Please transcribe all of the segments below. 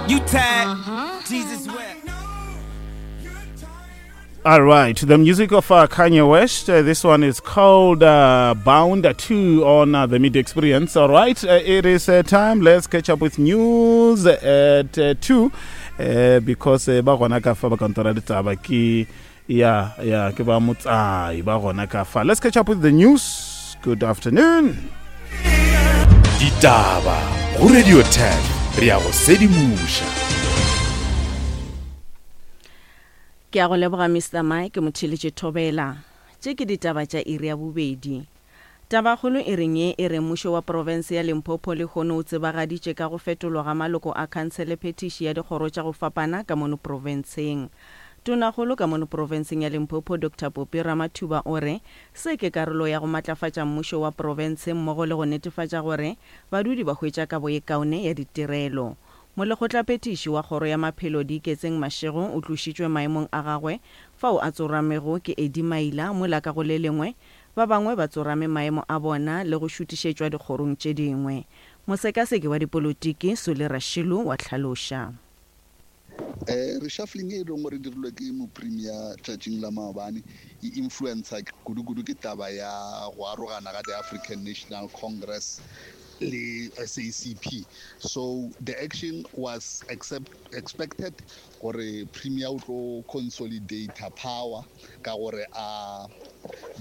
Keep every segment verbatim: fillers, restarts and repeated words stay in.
You tired. Jesus wept. All right, the music of uh, Kanye West. Uh, this one is called uh, Bound two on uh, the Media Experience. All right, uh, it is uh, time. Let's catch up with news at uh, two uh, because uh, ba gona ka fa ba kantora ditaba ke ya ya ke ba motsai ba gona ka fa. Let's catch up with the news. Good afternoon. Ditaba go Radio ten re ya go sedimoša. Ke a go leboga Mister Mike Motheletše Thobela. Tše ke ditaba tša iri ya bobedi. Tabakgolo e reng ye e re mmušo wa profense ya Limpopo lehono o tsebagaditše ka go fetolwa ga maloko a khansele phetiši ya dikgoro tša go fapana ka mono profenseng. Tonakgolo ka mono profenseng ya Limpopo Doctor Popi Ramathuba o re se ke karolo ya go matlafatša mmušo wa profense mmogo le go netefatša gore badudi ba hwetša kabo ye kaone ya ditirelo. Molekgotlaphethiši wa kgoro ya maphelo Diiketseng Mashego o tlošitšwe maemong a gagwe fao a tsoramego ke Eddie Maila mola ka go le lengwe ba bangwe ba tsorame maemo a bona le go šutišetšwa dikgorong tše dingwe. Mosekaseki wa dipolotiki Sule Rashilu wa hlaloša. Eh reshuffling e leng gore dirilwe ke mopremier tšatšing la maobane e influencer kudu-kudu ke taba ya go arogana ga the African National Congress le S A C P. So the action was accept, expected gore premier o tlo consolidate power ka gore a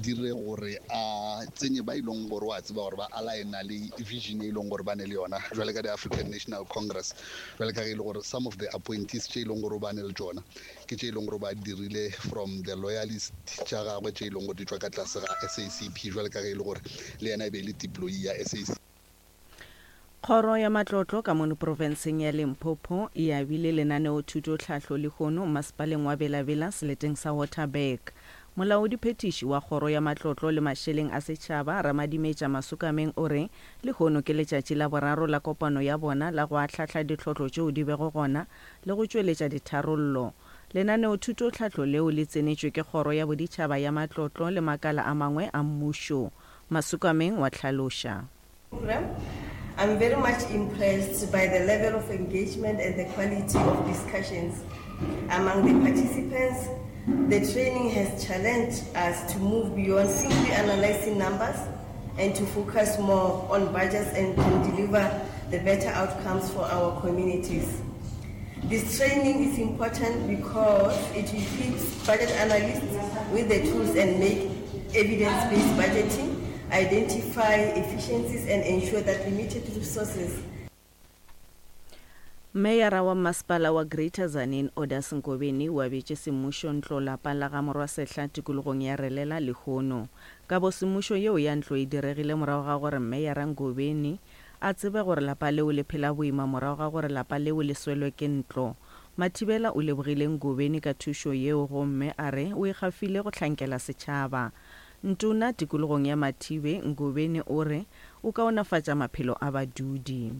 dire gore a tsenye ba ileng gore wa tseba gore ba aligna le vision e leng gore ba ne le yona jwale ka the African National Congress, jwale ka ge e le gore some of the appointees tše e leng gore ba ne le tsona ke tše e leng gore ba dirile from the loyalist tša gagwe tše e leng gore di tšwa ka tlase ga S A C P, jwale ka ge e le gore le yena e be e le deployee ya S A C P. Kgoro ya matlotlo ka mono profenseng ya Limpopo e abile lenaneo thuto tlhahlo lehono masepaleng wa Bela-Bela seleteng sa Waterberg. Molaodi phetiši wa kgoro ya matlotlo le mašeleng a setšhaba Ramadimetša Masukameng o re lehono ke letšatši la boraro la kopano ya bona la go ahlahla ditlhotlo tšeo di bego gona le go tšweletša ditharollo. Lenaneo thuto tlhahlo leo le tsenetšwe ke kgoro ya boditšhaba ya matlotlo le makala a mangwe a mmušo. Masukameng wa hlaloša. I'm very much impressed by the level of engagement and the quality of discussions among the participants. The training has challenged us to move beyond simply analyzing numbers and to focus more on budgets and can deliver the better outcomes for our communities. This training is important because it equips budget analysts with the tools and make evidence-based budgeting, identify efficiencies and ensure that limited resources. Meyara wa masepala wa Greater Tzaneen Odas Ngobeni o abetše semmušo ntlo lapa la ga Morwasehla tikologong ya Relela lehono. Kabo semmušo yeo ya ntlo e diregile morago ga gore Meyara Ngobeni a tsebe gore lapa leo le phela boima morago ga gore lapa leo le swelwe ke ntlo. Mathibela o lebogile Ngobeni ka thušo yeo gomme a re o ikgafile go hlankela setšhaba. Ntona tikologong ya Mathibe Ngobeni o re o kaonafatša maphelo a badudi.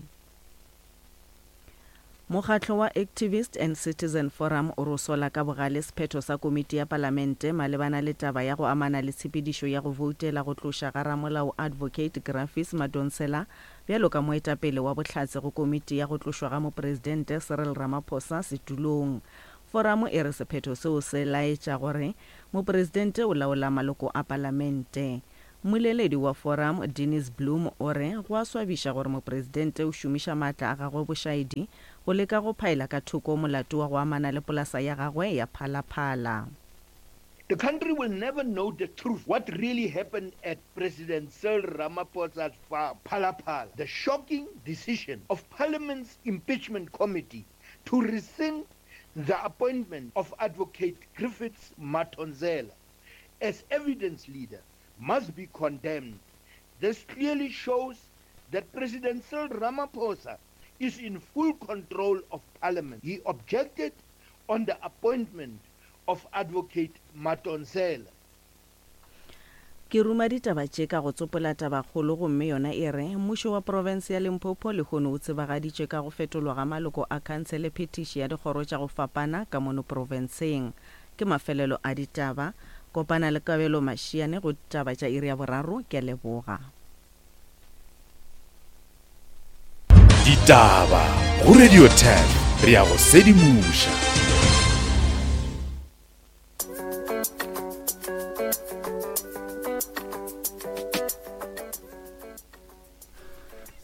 Mokgatlo wa Activist and Citizen Forum o re sola ka bogale sephetho sa komiti ya palamente malebana le taba ya go amana le tshepedišo ya go voutela go tloša ga ramolao Advocate Grafis Madonsela bjalo ka moetapele wa bohlatse go komiti ya go tlošwa ga mopresidente Cyril Ramaphosa setulong. Forum e re sephetho seo se laetša gore mopresidente o laola maloko a palamente. Mmoleledi wa forum Dennis Bloom o re go a swabiša gore mopresidente o šomiša maatla a gagwe bošaedi go leka go phaela ka thoko molato wa go amana le polasa ya gagwe ya Phalaphala. The country will never know the truth, what really happened at President Cyril Ramaphosa's farm, Phalaphala. The shocking decision of Parliament's impeachment committee to rescind the appointment of Advocate Griffiths Matonzela as evidence leader must be condemned. This clearly shows that President Cyril Ramaphosa is in full control of Parliament. He objected on the appointment of Advocate Matonzela. Ke ruma ditaba tše ka go tsopola tabakgolo gomme yona e re mmušo wa profense ya Limpopo lehono o tsebagaditše ka go fetolwa ga maloko a khansele phetiši ya dikgoro tša go fapana ka mono profenseng. Ke mafelelo a ditaba. Kopana le Kabelo Mashiane go ditaba tša iri ya boraro. Ke a leboga. Ditaba go Radio ten. Re ya go sedimoša.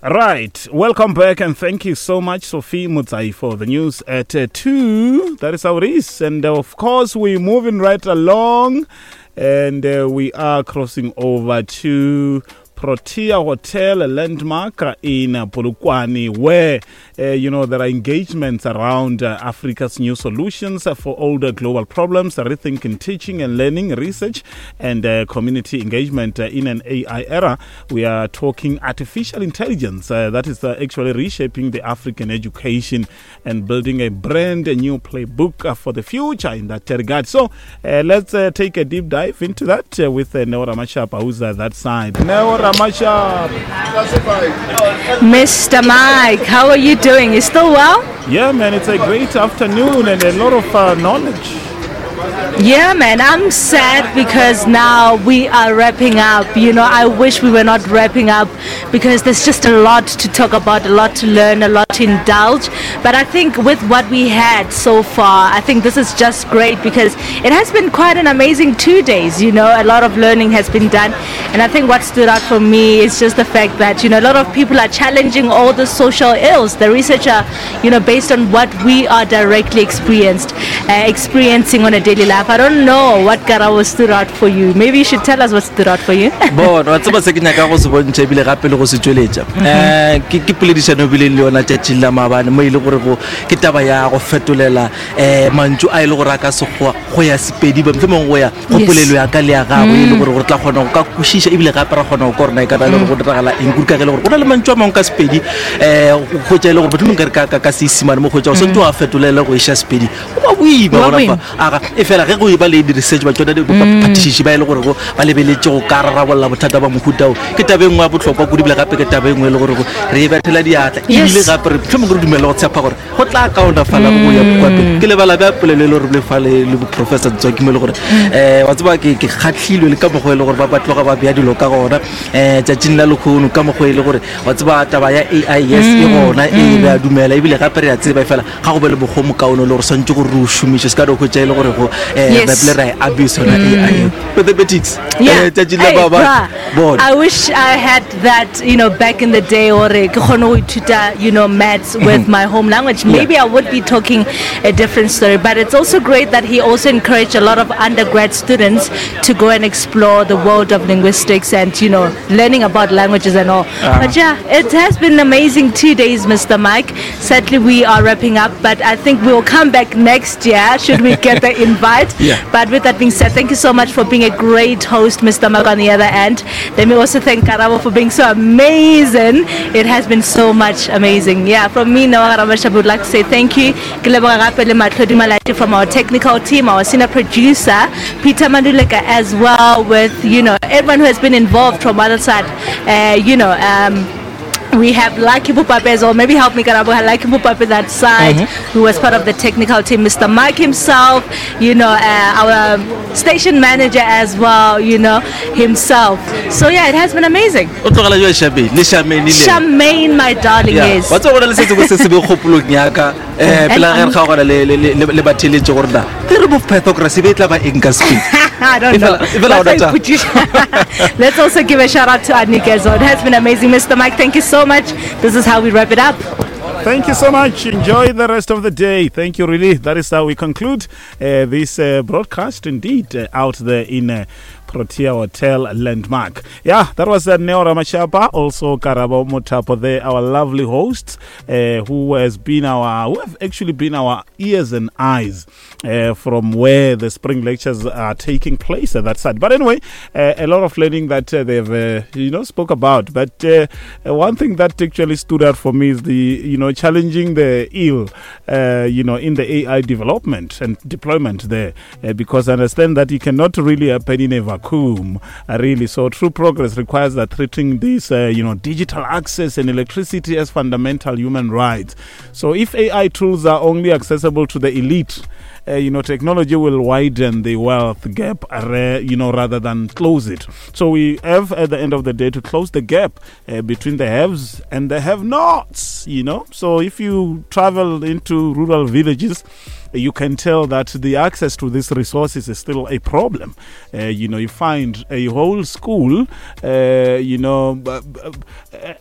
Right, welcome back and thank you so much, Sophie Mutsai, for the news at uh, two. That is how it is. And uh, of course, we're moving right along and uh, we are crossing over to Protea Hotel, a landmark in Polokwane, where, uh, you know, there are engagements around uh, Africa's new solutions for older global problems, rethinking teaching and learning, research, and uh, community engagement uh, in an A I era. We are talking artificial intelligence uh, that is uh, actually reshaping the African education and building a brand new playbook uh, for the future in that regard. So uh, let's uh, take a deep dive into that uh, with uh, Neo Ramachapa, who's at that side. Neo Ramachapa. Mister Mike, how are you doing? You still well? Yeah, man, it's a great afternoon and a lot of uh, knowledge. Yeah, man, I'm sad because now we are wrapping up. You know, I wish we were not wrapping up because there's just a lot to talk about, a lot to learn, a lot to indulge. But I think with what we had so far, I think this is just great because it has been quite an amazing two days. You know, a lot of learning has been done. And I think what stood out for me is just the fact that, you know, a lot of people are challenging all the social ills. The research are, you know, based on what we are directly experienced, uh, experiencing on a daily life. I don't know what Karabo stood out for you. Maybe you should tell us what stood out for you. Bona, wa tseba se ke nyaka go se bontšha ebile gape le go se tšweletša. Eh, ke ke poledišano ebile le yona tšatšing la maabane mo e le gore go ke taba ya go fetolela eh mantšu a e le gore a ka sekgowa go ya Sepedi, ba mohlomongwe go ya go polelo ya ka le ya gago e le gore gore tla kgona go ka kwešiša ebile gape ra kgona go kwa rona e ka ba e le gore go diragala eng kudu ka ge e le gore go na le mantšu a mangwe ka Sepedi eh go hwetša e le gore mohlomongwe ka re ka ka Seisimane mo hwetša o swanetše wa fetolela go iša Sepedi. Go ba boima gona fa. Aga e fela ge go e ba le di-research ba tsona diphatišiši ba e le gore go ba lebeletše go ka rarabolla bothata ba mohuta o ke taba e nngwe ya bohlokwa kudu ebile gape ke taba e nngwe e le gore re e bethela diatla ebile gape re mohlomongwe re dumela go tshepa gore go tla kaonafala go ya kwa pele. Ke lebala bja polelo e le gore le fa le le Professor Ntswaki mo e le gore um wa tseba ke ke kgahlilwe le ka mokgwa e le gore ba ba tloga ba bea dilo ka gona um tšatšing la lekgono ka mokgwa e le gore wa tseba taba ya A I yes e gona e re a dumela ebile gape re a tseba e fela ga go be le mokgwa o mokaone le gore swantse gore re o šomiše se ka do hwetša e le gore go Yes. Abuse on A I. Mathematics. Yeah. Hey, bruh, I wish I had that, you know, back in the day or ke kgone go ithuta, you know, maths with my home language. Maybe I would be talking a different story. But it's also great that he also encouraged a lot of undergrad students to go and explore the world of linguistics and, you know, learning about languages and all. Uh. But yeah, it has been amazing two days, Mister Mike. Sadly, we are wrapping up, but I think we'll come back next year should we get the invite. Yeah. But with that being said, thank you so much for being a great host, Mister Mike, on the other end. Let me also thank Karabo for being so amazing. It has been so much amazing. Yeah, from me, Noah Ramashab, would like to say thank you. Ke leboga gape le Matlhodi Malati from our technical team, our senior producer, Peter Manduleka, as well with, you know, everyone who has been involved from other side. Uh, you know, um, we have Lucky Pupape as well. Maybe help me, Karabo. Lucky Pupape that side, mm-hmm. who was part of the technical team. Mister Mike himself, you know, uh, our station manager as well, you know, himself. So yeah, it has been amazing. Charmaine, my darling, yeah. Yes. What's all the eh pela ge re kgaogana le le le batheletše gore na ke re bo pathocracy be tla ba eng ka speed. I don't know. Let's also give a shout out to Anika as well. It has been amazing, Mister Mike. Thank you so much. This is how we wrap it up. Thank you so much. Enjoy the rest of the day. Thank you, really. That is how we conclude uh, this uh, broadcast, indeed, uh, out there in uh, Protea Hotel Landmark. Yeah, that was uh, Neo Ramachapa, also Karabo Mothapo there, our lovely hosts, uh, who has been our, who have actually been our ears and eyes uh, from where the spring lectures are taking place at that side. But anyway, uh, a lot of learning that uh, they've, uh, you know, spoke about. But uh, one thing that actually stood out for me is the, you know, challenging the ill, uh, you know, in the A I development and deployment there, uh, because I understand that you cannot really happen in a vacuum. vacuum, uh, really. So true progress requires that treating this, uh, you know, digital access and electricity as fundamental human rights. So if A I tools are only accessible to the elite, uh, you know, technology will widen the wealth gap, uh, you know, rather than close it. So we have, at the end of the day, to close the gap uh, between the haves and the have-nots, you know. So if you travel into rural villages, you can tell that the access to these resources is still a problem. Uh, you know, you find a whole school, uh, you know,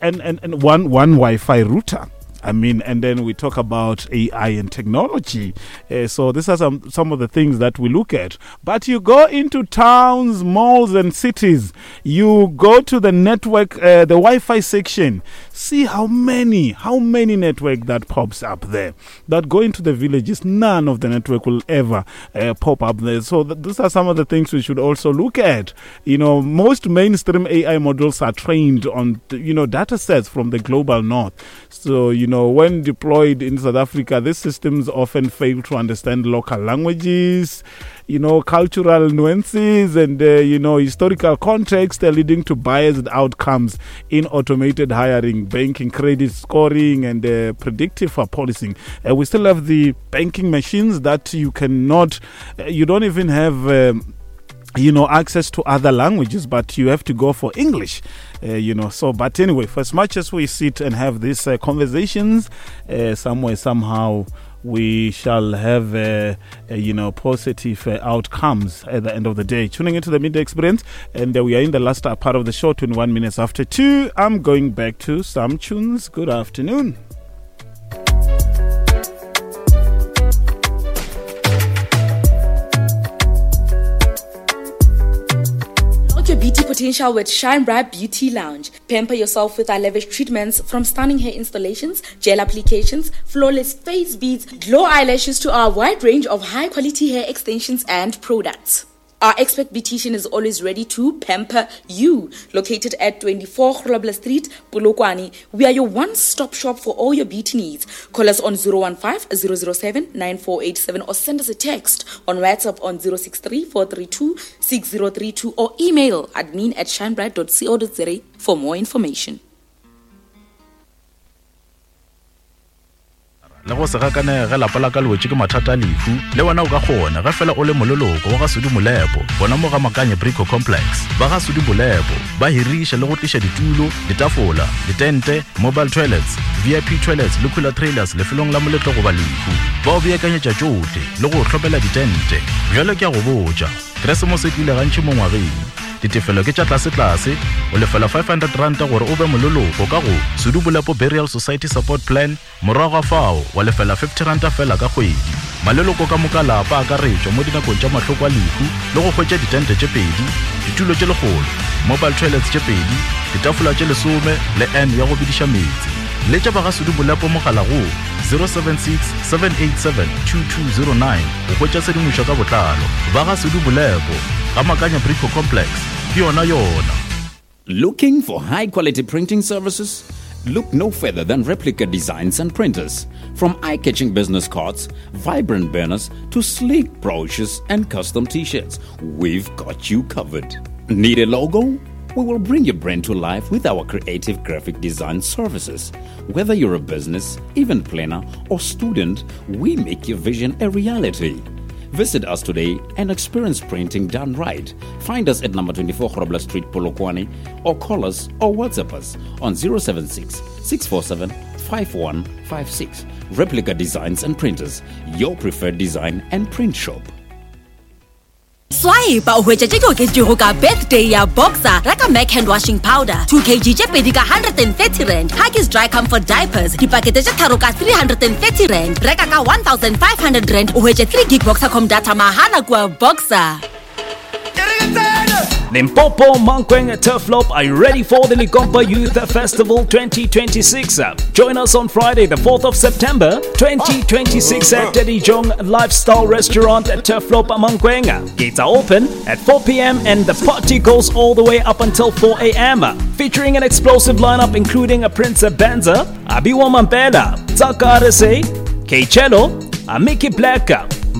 and, and, and one, one Wi-Fi router. I mean, and then we talk about A I and technology. Uh, so these are some, some of the things that we look at. But you go into towns, malls, and cities. You go to the network, uh, the Wi-Fi section. See how many, how many network that pops up there. That go into the villages, none of the network will ever uh, pop up there. So th- these are some of the things we should also look at. You know, most mainstream A I models are trained on, you know, data sets from the global north. So, you know, when deployed in South Africa, these systems often fail to understand local languages, you know, cultural nuances and, uh, you know, historical context, uh, leading to biased outcomes in automated hiring, banking, credit scoring, and uh, predictive policing. Uh, we still have the banking machines that you cannot, uh, you don't even have... Um, you know, access to other languages, but you have to go for English, uh, you know. So, but anyway, for as much as we sit and have these uh, conversations, uh, somewhere, somehow, we shall have, uh, uh, you know, positive uh, outcomes at the end of the day. Tuning into the Midday Experience, and uh, we are in the last uh, part of the show, twenty-one minutes after two. I'm going back to some tunes. Good afternoon. Your beauty potential with Shine Bright Beauty Lounge. Pamper yourself with our lavish treatments, from stunning hair installations, gel applications, flawless face beads, glow eyelashes to our wide range of high quality hair extensions and products. Our expert beautician is always ready to pamper you. Located at twenty-four Grobler Street, Polokwane, we are your one-stop shop for all your beauty needs. Call us on zero one five, zero zero seven, nine four eight seven or send us a text on WhatsApp on zero six three, four three two, six zero three two or email admin at shinebright dot co dot za for more information. Le go se gakane ge lapa la ka le wetše ke mathata a lehu, le wena o ka kgona ge fela o le moleloko wa ga Sudi Molepo, bona mo ga Makanye Brico Complex. Ba ga Sudi Molepo ba hiriša le go tliša ditulo, ditafola, ditente, mobile toilets, V I P toilets le cooler trailers lefelong la moletlo goba lehu. Ba o beakanyetša tšohle le go hlopela ditente. Bjale ke a go botša, Keresemose e tlile gantši mo ngwageng. Ditefelo ke tša tlase-tlase, o lefela five hundred rand gore o be moleloko ka go Sudi Molepo Burial Society Support Plan, morago ga fao wa lefela fifty rand fela ka kgwedi. Maleloko ka moka lapa a akaretšwa mo dinakong tša mahloko a lehu le go hwetša ditente tše pedi, ditulo tše lekgolo, mobile toilets tše pedi, ditafola tše lesome le N ya go bidiša meetse. Letša ba ga Sudi Molepo mogala go zero seven six, seven eight seven, two two zero nine go hwetša tshedimošo ka botlalo. Ba ga Sudi Molepo ga Makanya Brico Complex, ke yona yona. Looking for high quality printing services? Look no further than Replica Designs and Printers. From eye-catching business cards, vibrant banners, to sleek brochures and custom t-shirts, we've got you covered. Need a logo? We will bring your brand to life with our creative graphic design services. Whether you're a business, event planner, or student, we make your vision a reality. Visit us today and experience printing done right. Find us at number twenty-four Grobler Street, Polokwane, or call us or WhatsApp us on zero seven six, six four seven, five one five six. Replica Designs and Printers, your preferred design and print shop. Swipe o hwetša tše di oketšego ka birthday ya Boxer. Reka Mac hand washing powder two kilograms tše pedi ka one hundred and thirty rand. Huggies dry comfort diapers dipakete tše tharo ka three hundred and thirty rand. Reka ka one thousand five hundred rand o hwetše three gig Boxercom data mahala kua Boxer. Limpopo, Mankweng, Turfloop, are you ready for the Likompa Youth Festival twenty twenty-six? Join us on Friday, the fourth of September, twenty twenty-six at Teddy Jong Lifestyle Restaurant at Turfloop, Mankweng. Gates are open at four p.m. and the party goes all the way up until four a.m. Featuring an explosive lineup including a Prince Benza, Abiwa Mampela, Tsaka R S A, K-Cello, Amiki Black,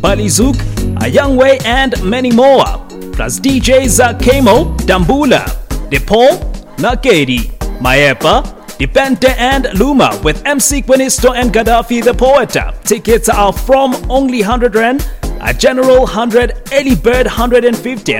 Bali Zouk, A Young Way, and many more. Plus D Js Kamo, Dambula, DePaul, Nakedi, Maepa, Dipente and Luma with M C Quinisto and Gaddafi the Poet. Tickets are from only one hundred rand, a general one hundred, early bird one hundred fifty and